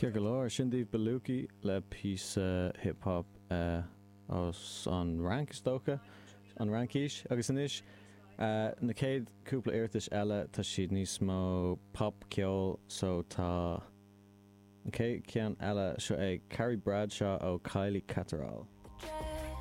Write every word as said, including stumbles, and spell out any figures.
Ceart go leor, sin daoibh Beluki le píosa hip hop as an Fhrainc, is dócha, an Fhraincis. Agus anois na chéad cúpla iarratais eile, tá siad níos mó pop ceol, so tá an chéad ceann eile seo ag Carrie Bradshaw ó Kylie Catterall.